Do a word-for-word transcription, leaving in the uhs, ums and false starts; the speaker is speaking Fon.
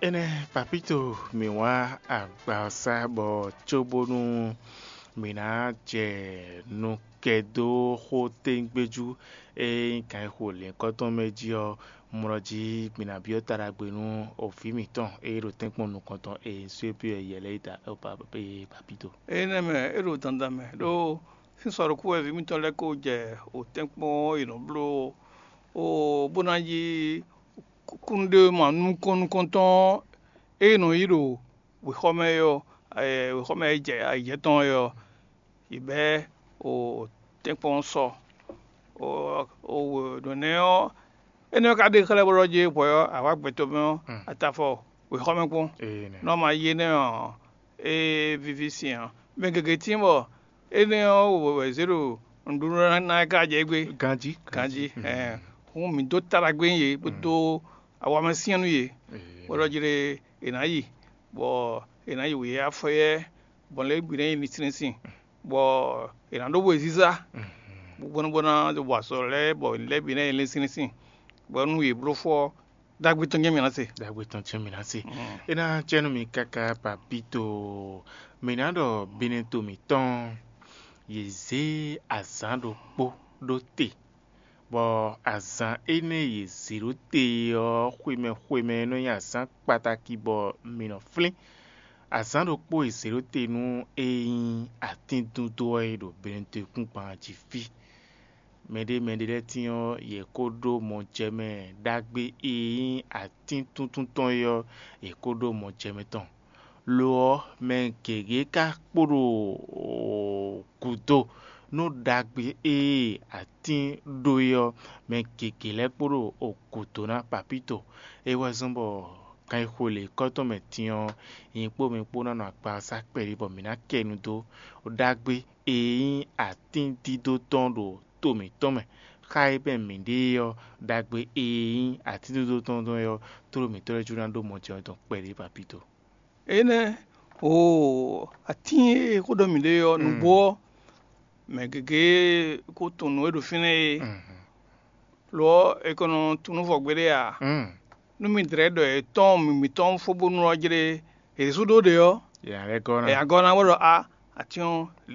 Énɛ́, Papíto, mǐ wá agbawɔsá bɔ cóbónú mǐ ná jɛ nukɛdóxótégbéjú e nyí gǎnxixo lěhunkɔtɔn mɛ jí ɔ́, mlɔ jí mǐ ná byɔ́ ta ɖagbe nú vǐ mǐtɔn e ɖo tɛ́nkpɔ́n nukɔntɔn e nyí Suépi ɔ́ yɛ lɛ́ɛ yi ta Papíto. Énɛ́ mɛ, é ɖo dandan mɛ ɖó sín sɔ ɖokpó wɛ vǐ mǐtɔn lɛ́ɛ ko jɛ o tɛ́nkpɔ́n e nɔ bló o bó ná yí kúnnuɖewéma nukɔn nukɔntɔn e nɔ yi ɖo wěxɔmɛ é ɔ́, wěxɔmɛ e jɛ ayǐjɛ tɔn é ɔ́, yi bɛ́ o tɛ́nkpɔ́n sɔ o nɔ̌ nɛ́ ɔ́, énɛ́ ɔ́ ka ɖe xlɛ́ bó ɖɔ jí hwɛ ɔ́, awǎ gbɛtɔ́ mɛ ɔ́, atafɔ wěxɔmɛ kpɔ́n. Nɔ ma yi énɛ́ ɔ́, é víví sin ɔ́, mɛ gěgé tíin bɔ énɛ́ ɔ́ wɛ zě ɖo nǔɖuɖu ná ná ká jɛ égbé. Ganjí. Ganjí. Hǔn mǐ dó ta ɖagbe nú yě, bó dó awamɛsyɛ́n nú yě, bó ɖɔ jí ɖé è nǎ yi, bɔ è nǎ yi wǔyá fɔ́yɛ́, bɔ lě bǐ ná nyí linsin bɔ è nǎ ɖó wezízá, bó ná bó ná wa azɔ̌ lɛ́ɛ, bɔ lě bǐ ná nyí linsin, bɔ nú yě bló fɔ ɔ́, ɖagbe tɔn jɛ́n mǐ ná se. Ɖagbe tɔn jɛ́n mǐ ná se. É ná jɛ nú mi káká, Papíto. Mǐ ná ɖɔ binetɔn mǐtɔn, yě zě azǎn ɖokpó ɖó te, bɔ azǎn énɛ́ e yě zě ɖó te ɔ́, xwemɛ xwemɛ nɔ nyí azǎn kpatáki bɔ mǐ nɔ flín. Azǎn ɖokpó e zě ɖó te nú e nyí atíndúndó ɔ́ e ɖo binetɔn kúngban jí fí. Mɛɖé mɛɖé lɛ́ɛ tíin ɔ́, yě kó ɖó mɔjɛmɛ ɖagbe e nyí atín túntún tɔn é ɔ́, yě kó ɖó mɔjɛmɛ tɔn. Lo ɔ́, mɛ gěgé ka kpo ɖo gǔdo nú ɖagbe e atín ɖó é ɔ́, mɛ gěgé lɛ́ɛ kpo ɖo gǔdo ná. Papíto. É wɛ zɔ́n bɔ ganxixo lěhunkɔtɔn mɛ din ɔ́, nyɛ kpó mi kpó ná nɔ akpawasa kpɛɖé bɔ mǐ ná kɛ nu dó ɖagbe e nyí atíndídó tɔn ɖo to mǐtɔn mɛ, xá e mɛ mǐɖée ɔ́, ɖagbe e nyí atíndídó tɔn tɔn é ɔ́, tló mǐtɔn lɛ́ɛ jló ná ɖó mɔ jɛ tɔn kpɛɖé, Papíto. Énɛ́, o atín e xó ɖɔ mǐ ɖe ɔ́, nǔgbó ɔ́, mɛ gěgé ko tunwun nǔ e ɖo fínɛ́ é, lo ɔ́, è ko nɔ tunwun nú vɔ gbeɖé ǎ. Nú mi dlɛ̌ ɖɔ è tɔ́n mǐ mǐtɔn fó bónú ɔ́ jlé, è ɖésú ɖó ɖe ɔ́, è nǎ lɛ́ gɔ́ ná. È nǎ gɔ́ ná bó ɖɔ a atín ɔ́